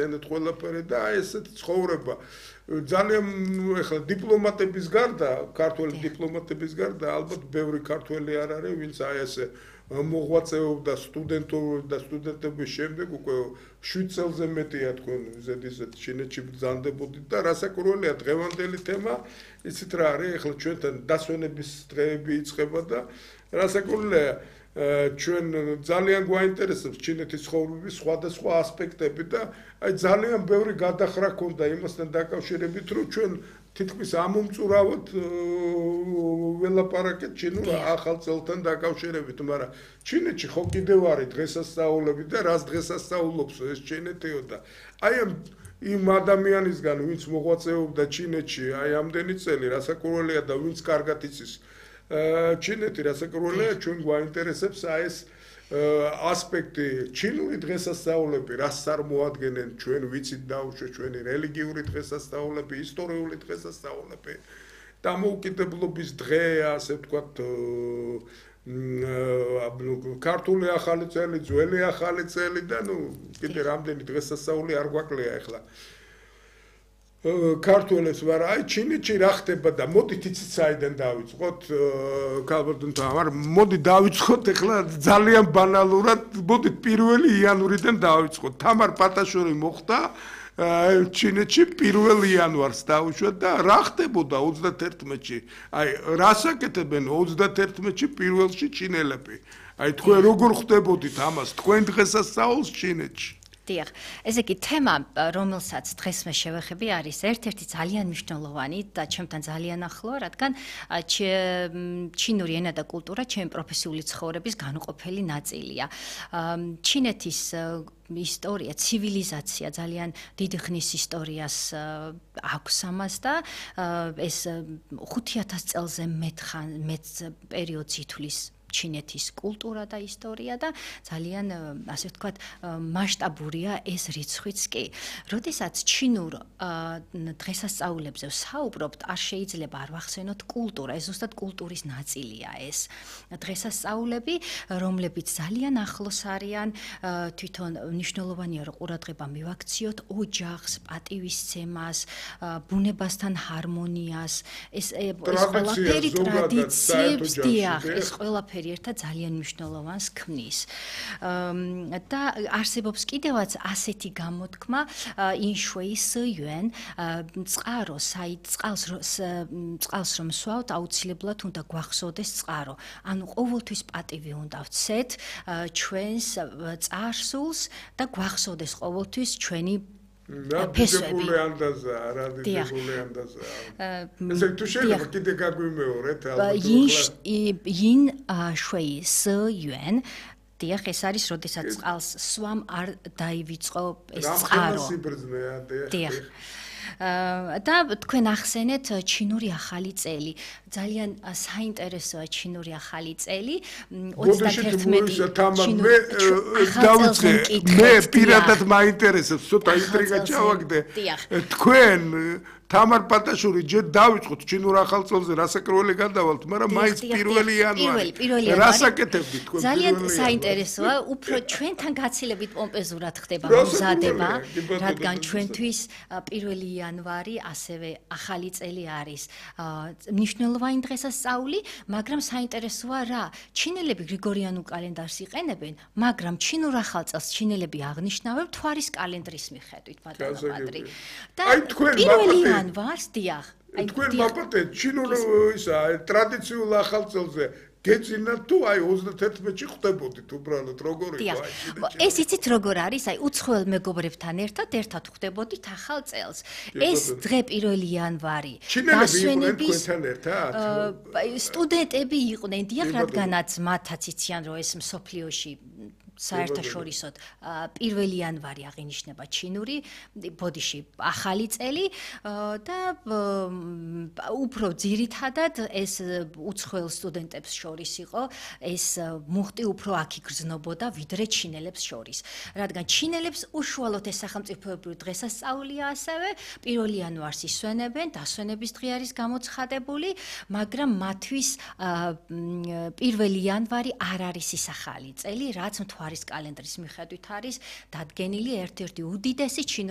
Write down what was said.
ენეთ ყველაფერი და აი ესეთ ცხოვრება ძალიან ეხლა დიპლომატების გარდა, ქართველი დიპლომატების გარდა ალბათ ბევრი ქართველი არ არის, ვინც აი ესე მოღვაწეობდა სტუდენტების შემდეგ უკვე 7 წელზე მეტია თქვენ ზედიზედ ჩინეთში ბრძანდებოდით და რასაკვირველია დღევანდელი თემა იცით რა არის ეხლა ჩვენთან დასვენების დღეები იწყება და რასაკვირველია ჩვენ ძალიან გვაინტერესებს ჩინეთის ცხოვრების სხვადასხვა ასპექტები და აი ძალიან ბევრი გადახრა ქონდა იმასთან დაკავშირებით რომ ჩვენ თითქმის ამომწურავად ველაპარაკეთ ჩინურ ახალ წელთან დაკავშირებით, მაგრამ ჩინეთში ხო კიდევ არის დღესასწაულები და რას დღესასწაულობს ეს ჩინეთიო და აი იმ ადამიანისგან ვინც მოღვაწეობდა ჩინეთში აი ამდენი წელი რასაკვირველია და ვინც კარგად იცის ჩინეთი რასაკვირველია ჩვენ გვაინტერესებს აი ეს ასპექტი ჩინური დღესასწაულები რას წარმოადგენენ ჩვენ ვიცით დაუშვათ ჩვენი რელიგიური დღესასწაულები ისტორიული დღესასწაულები დამოუკიდებლობის დღე ასე ვთქვათ ქართული ახალი წელი ძველი ახალი წელი და ნუ კიდე რამდენი დღესასწაული არ გვაკლია ახლა ქართველებს ვარ აი ჩინეთში რა ხდება და მოდით იცით საიდან დავიწყოთ ქალბატონთან მაგრამ მოდი დავიწყოთ ახლა ძალიან ბანალურად მოდით 1 იანვრიდან დავიწყოთ თამარ პატაშური მოხდა ჩინეთში 1 იანვარს დაუშვათ და რა ხდებოდა 31-ში აი რას აკეთებენ 31-ში 1-ში ჩინელები აი თქვენ როგორ ხდებოდით ამას თქვენ დღესასწაულს ჩინეთში დიახ, ესე იგი თემა, რომელსაც დღეს მე შევეხები, არის ერთ-ერთი ძალიან მნიშვნელოვანი და ჩემთან ძალიან ახლო, რადგან ჩინური ენა და კულტურა ჩემი პროფესიული ცხოვრების განუყოფელი ნაწილია. ჩინეთის ისტორია, ცივილიზაცია ძალიან დიდი ხნის ისტორიას აქვს ამას და ეს 5000 წელზე მეტ პერიოდს ითვლის ჩინეთის კულტურა და ისტორია და ძალიან ასე ვთქვათ მასშტაბურია ეს რიცხვიც კი. როდესაც ჩინურ დღესასწაულებზე ვსაუბრობთ, არ შეიძლება არ ვახსენოთ კულტურა, ეს ზუსტად კულტურის ნაწილია ეს დღესასწაულები, რომლებიც ძალიან ახლოს არიან, თვითონ მნიშვნელოვანია რომ ყურადღება მივაქციოთ ოჯახს, პატივისცემას, ბუნებასთან ჰარმონიას, ეს ყველაფერი ტრადიციებს, დიახ, ეს ყველაფერი ერთად ძალიან მნიშვნელოვანს ქმნის. და არსებობს კიდევაც ასეთი გამოთქმა ინშვეი სიუენ წყარო, წყალს რომ სვავთ, აუცილებლად უნდა გვახსოვდეს წყარო. ანუ ყოველთვის პატივი უნდა ვცეთ ჩვენს წარსულს და გვახსოვდეს ყოველთვის ჩვენი ფესვები. ესე თუ შეიძლება კიდე გაგვიმეორეთ ინ შვეი სიუენ დიახ, ეს არის, როდესაც წყალს სვამ არ დაივიწყო ეს წყარო. დიახ. და თქვენ ახსენეთ ჩინური ახალი წელი. ძალიან საინტერესოა ჩინური ახალი წელი. 31 მე პირადად მაინტერესებს, ცოტა ინტრიგა ჩავაგდე. თქვენ თამარ პატაშური ჯერ დავიწყოთ ჩინურ ახალ წელზე რასაკვირველი გადავალთ, მაგრამ მაინც 1 იანვარი. რასაკეთებდით თქვენ? ძალიან საინტერესოა, უფრო ჩვენთან გაცილებით პომპეზურად ხდება მზადება, რადგან ჩვენთვის 1 იანვარი ასევე ახალი წელი არის. მნიშვნელოვანი დღესასწაული, მაგრამ საინტერესოა რა, ჩინელები გრიგორიანულ კალენდარს იყენებენ, მაგრამ ჩინურ ახალ წელს ჩინელები აღნიშნავენ მთვარის კალენდრის მიხედვით, ბატონო პატრი. და აი თქვენ მაპატე ვარს დიახ. თქვენ მაპატე ჩინურ ისა ტრადიციულ ახალ წელზე გეძინათ თუ აი 31-ში ხდებოდით უბრალოდ როგორ იყო აი ჩინეთში. ეს იცით როგორ არის? აი უცხოელ მეგობრებთან ერთად ხდებოდით ახალ წელს. ეს დღე 1 იანვარი. დასვენების თქვენთან ერთად? სტუდენტები იყვნენ, დიახ, რადგანაც მათაც იციან რომ ეს მსოფლიოში საერთაშორისოდ 1 იანვარი აღინიშნება ჩინური ბოდიში ახალი წელი და უფრო ძირითადად ეს უცხოელ სტუდენტებს შორის იყო ეს მუხტი უფრო აქ იგრძნობოდა ვიდრე ჩინელებს შორის რადგან ჩინელებს უშუალოდ ეს სახელმწიფოებრივი დღესასწაულია ასევე 1 იანვარს ისვენებენ დასვენების დღე არის გამოცხადებული მაგრამ მათთვის 1 იანვარი არ არის ის ახალი წელი რაც მთვარის კალენდრის მიხედვით არის დადგენილი ერთ-ერთი უდიდესი ჩინური